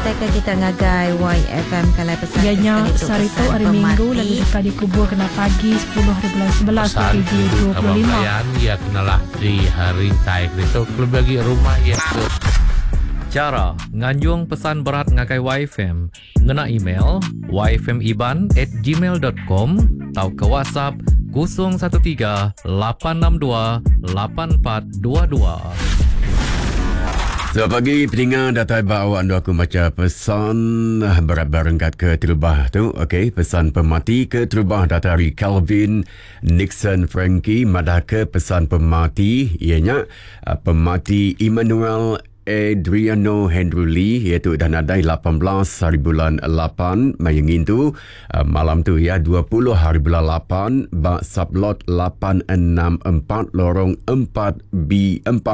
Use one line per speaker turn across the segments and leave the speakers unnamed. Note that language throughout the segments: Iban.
ngenatai ke kita ngagai YFM kalai pesan
Iya
ke
nya
sekali tu
sehari tu
pesan
hari Minggu lalu
pemati.
deka dikubur kena pagi 10 hari bulan 11
Pesan rindu kaban
2025.
belayan iya kenalah di rintai ditu kelebih agi rumah iya ke.
Chara nganjung pesan berat ngagai Waifm ngena email yfmiban@gmail.com tauka WhatsApp 013 862 8422.
Selamat pagi peninga datai ba awak endur aku macha pesan berat ba renggat ke terubah tu. Okey, pesan pemati ke terubah datai ari Calvin Nixon Frankie madahka pesan pemati iya nya pemati Emmanuel Adriano Henry Lee iya tu udah nadai 18 hari bulan 8 maya ngintu malam tu iya 20 hari bulan 8 ba sublot 864 lorong 4B4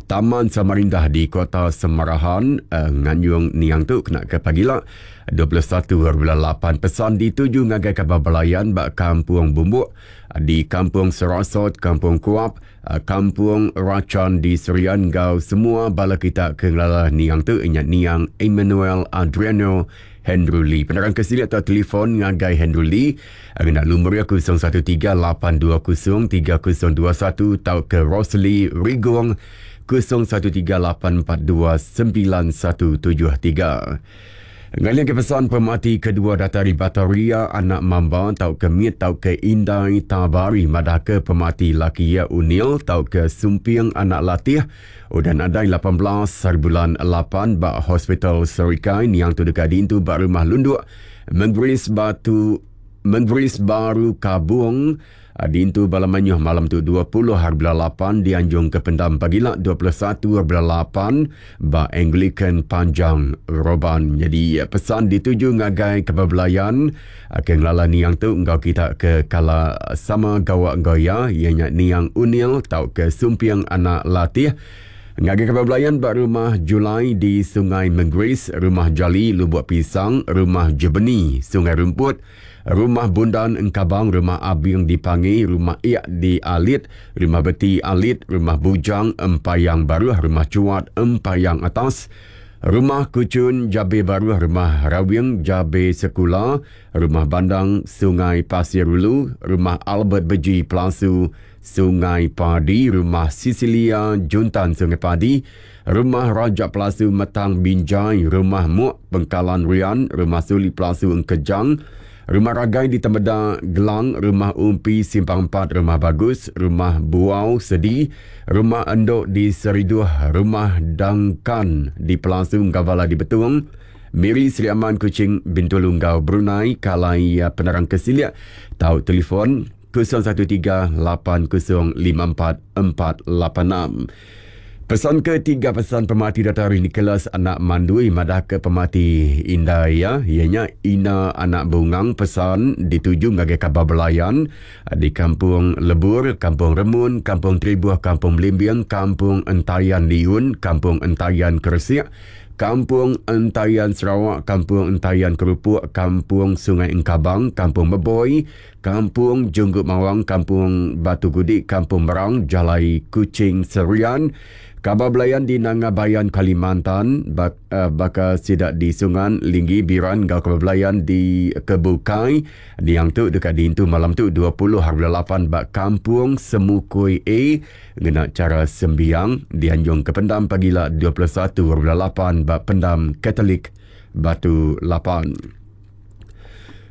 Taman Samarindah di Kota Semarahan nganyung niang tu kena ke pagila 21 hari bulan 8 pesan dituju ngagai kaban belayan ba Kampung Bumbuk di Kampung Serasot Kampung Kuap Kampung Rachan di Serian enggau semua bala kita ke ngelala niang tu inya niang Emmanuel Adriano Henry Lee. Penerang ke silik atau telefon ngagai Henry Lee ngena lumur iya 013 820 3021 tauka Rosli Rigong 013 842 9173. Ngalih ke pesan pemati kedua datai ari Bataria anak Mamba tauka Mit tauka Indai Tabari madahka pemati laki iya Unil tauka Sumping anak Latih udah nadai 18 haribulan 8 ba Hospital Serikai niang tu deka diintu ba Rumah Lunduk Menggeris Batu Menggeris Baru Kabung. Diintu bala mayuh malam tu 20 hari bulan 8 dianjung ke pendam pagila 21 hari bulan 8 ba Anglican Panjang Roban. Nyadi pesan dituju ngagai kaban belayan ke ngelala niang tu enggau kita ke kala sama gawa enggau iya, iya nya niang Unil tauka Sumping Anak Latih. Ngagai kaban belayan ba Rumah Julai di Sungai Menggeris, Rumah Jali Lubuk Pisang, Rumah Jebeni Sungai Rumput, Rumah Bundan Engkabang, Rumah Abing di Pangi, Rumah Ik di Alit, Rumah Beti Alit, Rumah Bujang Empayang Baruh, Rumah Chuat Empayang Atas, Rumah Kuchun Jabe Baruh, Rumah Rawing Jabe Sekula, Rumah Bandang Sungai Pasir Ulu, Rumah Albert Beji Pelasu Sungai Padi, Rumah Sisilia Juntan Sungai Padi, Rumah Raja Pelasu Metang Binjai, Rumah Muk Pengkalan Rian, Rumah Suli Pelasu Engkejang, Rumah Ragai di Temeda Gelang, Rumah Umpi Simpang 4, Rumah Bagus, Rumah Buau Sedi, Rumah Endok di Seriduh, Rumah Dangkan di Pelasu Enggau Bala di Betung, Miri Sri Aman Kuching Bintulu enggau Brunei. Kalai penerang ke silik tau telefon 013 8054 486. Pesan ketiga pesan pemati datai ari Nicholas anak Mandui madahka pemati indai iya, iya nya Ina anak Bungang pesan dituju ngagai kaban belayan di Kampung Lebur, Kampung Remun, Kampung Tribuh, Kampung Belimbing, Kampung Entayan Liun, Kampung Entayan Keresik, Kampung Entayan Sarawak, Kampung Entayan Kerupuk, Kampung Sungai Engkabang, Kampung Meboi, Kampung Junggut Mawang, Kampung Batu Gudik, Kampung Merang, Jalai Kuching Serian, Kabar Belayan di Nanga Bayan Kalimantan, bak, uh, baka sida di Sungan, Linggi, Biran enggau Kabar Belayan di Kebukai. Niang tu deka diintu malam tu 20 hari bulan 8 ba Kampung Semukui A ngena chara sembiang dianjung ke pendam pagila 21 hari bulan 8 ba Pendam Katolik Batu 8.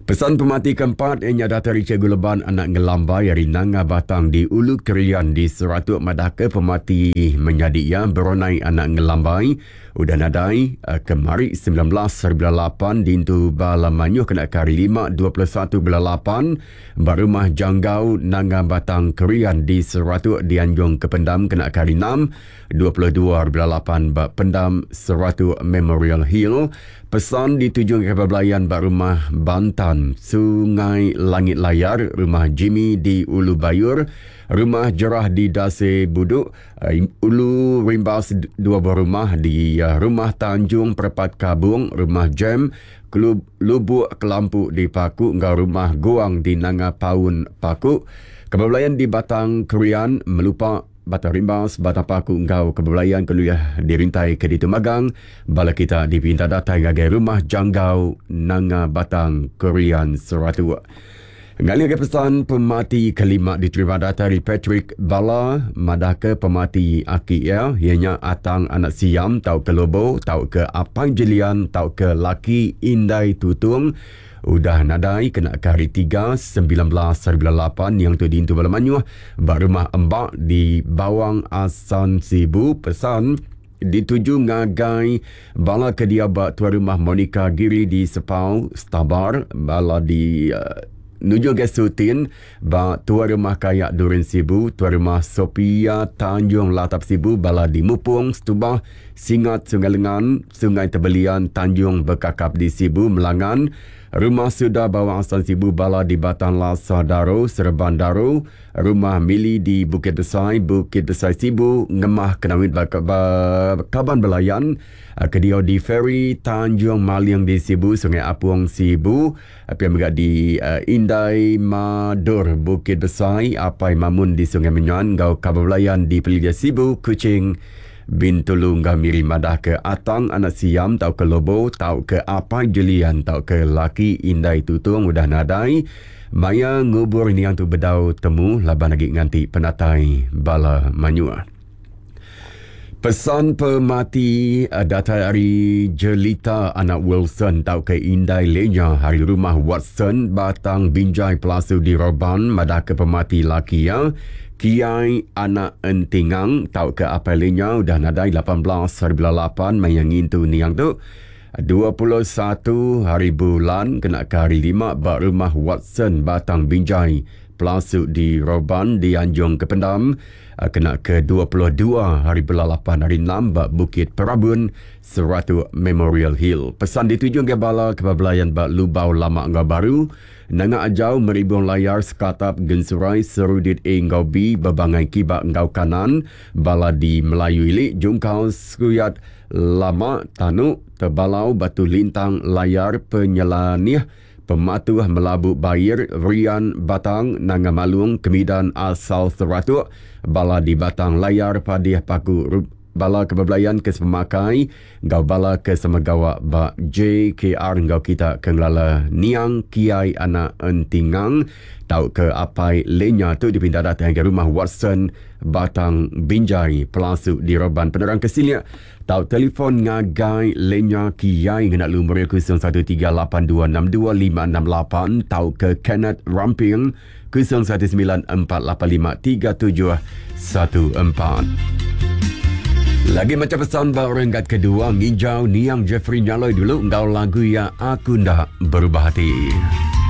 Pesan pemati keempat iya nya datai ari Cikgu Leban anak Ngelambai ari Nanga Batang di Ulu Krian di Seratuk madahka pemati menyadi iya Beronai anak Ngelambai udah nadai kemari 19 hari bulan 8 dintu bala mayuh kena ke hari 5 21 bulan 8 ba Rumah Janggau Nanga Batang Krian di Seratuk dianjung ke pendam kena ke hari 6 22 hari bulan 8 ba Pendam Seratuk Memorial Hill. Pesan dituju ngagai belayan ba Rumah Bantan, Sungai Langit Layar, Rumah Jimmy di Ulu Bayur, Rumah Jerah di Dase Buduk, Ulu Rimbas dua buah rumah di Rumah Tanjung Perepat Kabung, Rumah Jem, Klub Lubuk Kelampu di Paku enggau Rumah Guang di Nanga Paun Paku. Kebelayan di Batang Krian, Melupa. Batang Rimbas, Batang Paku enggau Kebelayan ke ulih dirintai ke ditu magang. Bala kita dipinta datai ngagai Rumah Janggau Nanga Batang Krian Seratuk. Ngalih ke pesan pemati kelima diterima datai ari Patrick Bala madahka pemati aki iya iya nya Atang anak Siam tauka Lobo tauka Apai Jelian tauka laki Indai Tutung udah nadai kena ke hari Tiga 19 hari bulan lapan yang tu diintu bala mayuh ba Rumah Embak di Bawang Assan Sibu. Pesan dituju ngagai bala ke diau ba tuai rumah Monica Giri di Sepau, Stabar, bala di nuju ngagai Sutin ba tuai rumah Kayak Durin Sibu, tuai rumah Sophia Tanjung Latap Sibu, bala di Mupong, Setubah, Singat Sungai Lengan, Sungai Tebelian, Tanjung Bekakap di Sibu, Melangan, Rumah Suda Bawang Assan Sibu, bala di Batang Lasa Daro, Serban Daro, Rumah Mili di Bukit Besai, Bukit Besai Sibu, Ngemah Kenawit ba, ba Kaban Belayan, ke diau di Ferry Tanjung Maling di Sibu, Sungai Apong Sibu, pia mega di uh, Indai Mador, Bukit Besai, Apai Mamun di Sungai Menyan enggau Kaban Belayan di Pelilih Sibu, Kuching, Bintulu enggau Miri madah ke Atang anak Siam tauka Lobo tauka Apai Jelian tauka laki Indai Tutung udah nadai. Maya ngubur niang tu bedau temu laban agi nganti penatai bala mayuh. Pesan pemati datai ari Jelita anak Wilson tauka Indai Lenya ari Rumah Watson, Batang Binjai Pelasu di Roban madahka pemati laki iya, Kiai anak Entingang tauka Apai Lenya udah nadai 18 hari bulan lapan maya ngintu niang tu. 21 hari bulan kena ke hari Lima ba Rumah Watson Batang Binjai, Pelasu di Roban dianjung ke pendam kena ke 22 hari bulan lapan hari Enam ba Bukit Perabun, Seratuk Memorial Hill. Pesan dituju ngagai bala ke bebelayan ba Lubau Lama enggau Baru, Nanga Ajau, Meribung Layar, Sekatap, Gensurai, Serudit A enggau B, Bebangai Kiba enggau Kanan, bala di Melayu Ili, Jungkal, Sekuyat, Lama, Tanu, Tebalau, Batu Lintang, Layar, Penyelanih, Pematuh, Melabu, Bair, Rian, Batang, Nanga Malung, Kemidan, Asal Seratuk, bala di Batang Layar, Padih, Paku, bala ke bebelayan ke sepemakai enggau bala ke sama gawa ba JKR enggau kita ke ngelala niang Kiai anak Entingang tauka Apai Lenya tu dipinta datai ngagai Rumah Watson, Batang Binjai, Pelasu di Roban. Penerang ke silik tau telefon ngagai Lenya Kiai ngena lumur iya 0138262568 tauka Kenneth Ramping 0194853714. Lagi macam pesan ba renggat kedua nginjau niang Jeffrey Nyaloi dulu enggau lagu iya Aku Enda Berubah Hati.